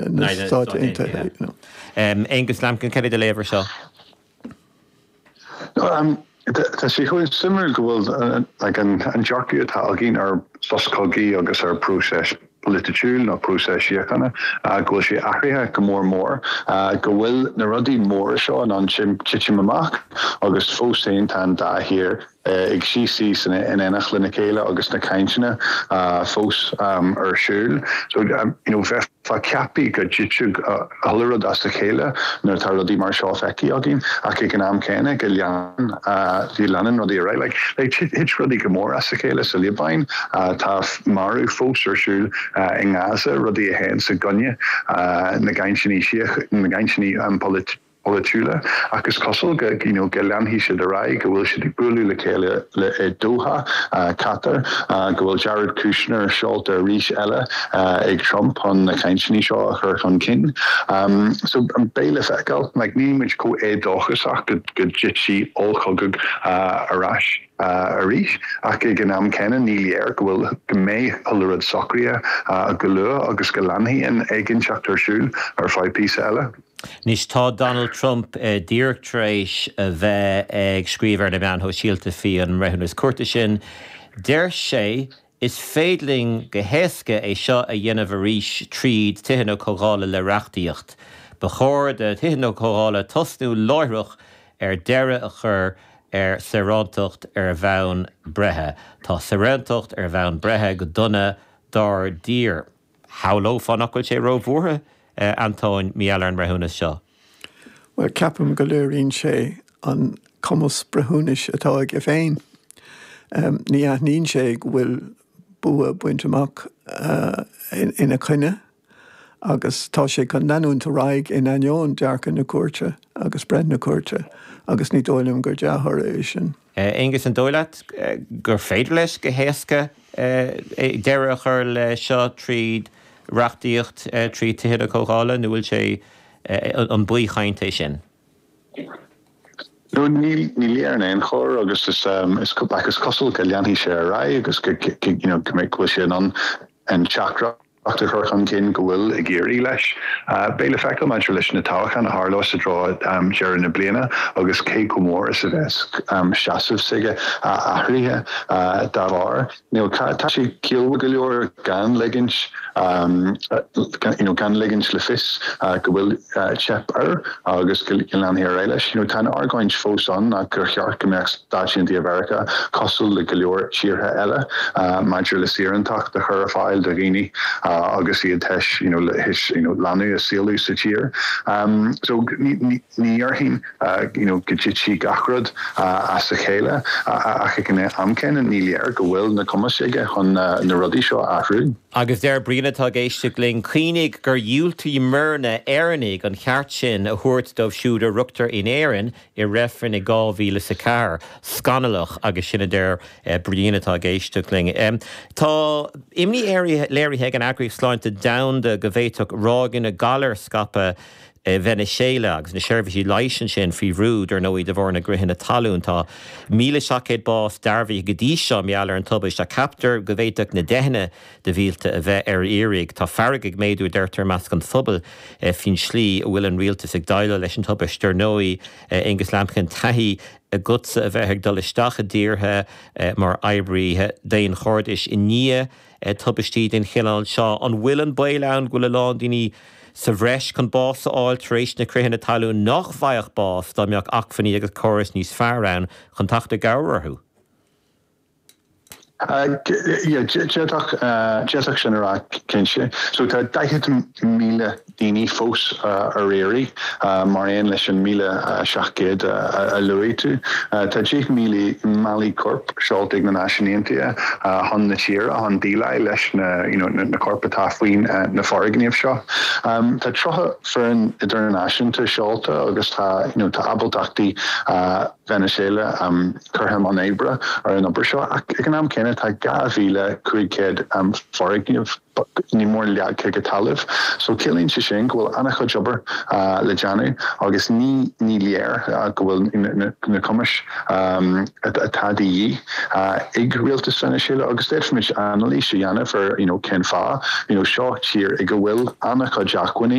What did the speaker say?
Na Stáit Aontaithe. Aonghus Lambkin, cad é do léamh ar seo? Tá sé chomh suimiúil go bhfuil an dearcadh atá againn ar sos cogaidh agus ar próiseas polaitiúil nó próiseas síochána, go bhfuil sé athraithe go mór mór, go bhfuil na rudaí móra seo in ann titim amach agus fós féin tá an dá thír ag suí síos in éineacht lena chéile agus na cainteanna fós ar siúl. So, you know, bheifeá ceaptha go dtitfeadh chuile rud as a chéile nuair atá rudaí mar seo feicthe againn ach ag an am céanna go leanann, go leanann rudaí ar aghaidh. Like, like, thit rudaí go mór as a chéile sa Liobáin, tá marú fós ar siúl i nGaza, rudaí a théann i gcoinne na gcainteanna na gcainteanna polaitiúla ach is cosúil go you know go leanfaidh siad ar aghaidh, go bhfuil siad ag bualadh le chéile le i Doha, Qatar, go bhfuil Jared Kushner seolta arís eile ag Trump chun na cainteanna seo a chur chun cinn. So beidh le feiceáil, like níl muid chomh éadóchasach go go dtitfidh ollchogadh ar ais arís ach ag an am céanna ní léir go bhfuil go mbeidh chuile rud socraithe go luath agus go leanfaidh an éiginnteacht ar siúl ar feadh píosa eile. Anois tá Donald Trump díreach tar éis a bheith ag scríobh ar na meáin shóisialta faoi an mbreithiúnas cúirte sin. Deir sé, Is féidir linn go héasca é seo a dhéanamh arís tríd Tithe na Comhdhála le reachtaíocht. Ba chóir do Thithe na Comhdhála tosnú láithreach ar deireadh a chur ar saorántacht ar bhonn breithe. Tá saorántacht ar bhonn breithe go dona dár dtír. Shamhlófá nach bhfuil sé róbhuartha, a Antóin, mar gheall ar an mbreithiúnas seo. Bhuel, ceapaim go léiríonn sé an cumas breithiúnais atá aige féin. Ní aithníonn sé go bhfuil bua bainte amach ina choinne agus tá sé chun leanúint ar aghaidh in ainneoin dearcadh na cúirte agus breith na cúirte agus ní dóigh liom gur dea-thoradh é sin. Aonghus, an dóigh leat gur féidir leis go héasca deireadh a chur le seo tríd reachtaíocht, trí Tithe na Comhdhála, nó bhfuil sé, an baothchaint é sin? No, ní léir in aon chor agus is is cosúil go leanfaidh sé ar aghaidh agus go you know go mbeidh go bhfuil sé in ann an teachtaireacht a chur chun cinn go bhfuil ag éirí leis. Beidh le feiceáil maidir leis na toghcháin a tharlós i dtreo deireadh na bliana agus cé chomh mór is a bheas seasamh s'aige athraithe dá bharr. Tá sé ciallmhar go leor gan ligint you know gan ligint le fios go bhfuil teip air agus go leanfaidh ar aghaidh leis. You know tá an argóint fós ann ach gur cheart go mbeadh Stáit Aontaithe Mheiriceá cosúil le go leor tíortha eile maidir le saorántacht a chur ar fáil do dhaoine agus iad théis you know théis you know leanbh a saolú sa tír. So ní ní dhéarfainn you know go dtitfidh gach rud as a chéile ach ag an am céanna ní léir go bhfuil na cumais aige chun na rudaí seo a athrú. Agus deir Brian atá ag éisteacht linn, Cuimhnigh gur dhiúltaigh muirne Éireannaigh an ceart sin a thabhairt dóibh siúd a rugtar in Éirinn i reifreann i 2004. Scannalach agus sin a deir Brian atá ag éisteacht linn. Tá imní léirithe ag an Eagraíocht Sláinte Domhanda go bhféadfadh ráigeanna galair scaipeadh i Veiniséala agus na seirbhísí leighis ansin faoi bhrú, dar ndóigh, de bharr na gcritheanna talún. Tá 1,700 bás dearbhaithe go dtí seo mar gheall ar an tubaiste ach ceaptar go bhféadfadh na deicheanna de mhílte a bheith ar iarraidh. Tá fearg ag méadú, a deirtear, i measc an phobail faoin tslí a bhfuil an rialtas ag déileáil leis an tubaiste. Dar ndóigh, Aonghus Lambkin, taithí agatsa a bheith ag dul isteach i dtíortha mar oibrí daonchairdis i ndiaidh tubaistí den chineál seo. An bhfuil an baol ann go bhfuil a lán daoine sa bhreis chun bás a fháil tar éis na critheanna talún nach bhfaigheadh bás dá mbeadh acmhainní agus córais níos fearr ann chun teacht i gcabhair orthu? D'fhéadfadh sin a rá cinnte. So tá 40,000 daoine fós ar iarraidh, mar aon leis an 1,700 a luaigh tú. Tá 10,000 málaí coirp seolta ag na Náisiúin Aontaithe chun na tíre chun déileáil leis na you know na coirp atá faoi na foirgnimh seo. Tá 30 foireann idirnáisiúnta seolta agus tá you know tá ábaltachtaí. Veiniséala curtha i mbun oibre ar an obair seo ach ag an am céanna tá 2,500 foirgneamh ní mór leagtha go talamh. So ciallaíonn sé sin go bhfuil an-chuid obair le déanamh agus ní ní léir go bhfuil na cumais atá de dhíth ag rialtas Veiniséala agus d'fhéadfaimis anailís a dhéanamh ar you know cén fáth you know seo tír ag a bhfuil an-chuid acmhainní.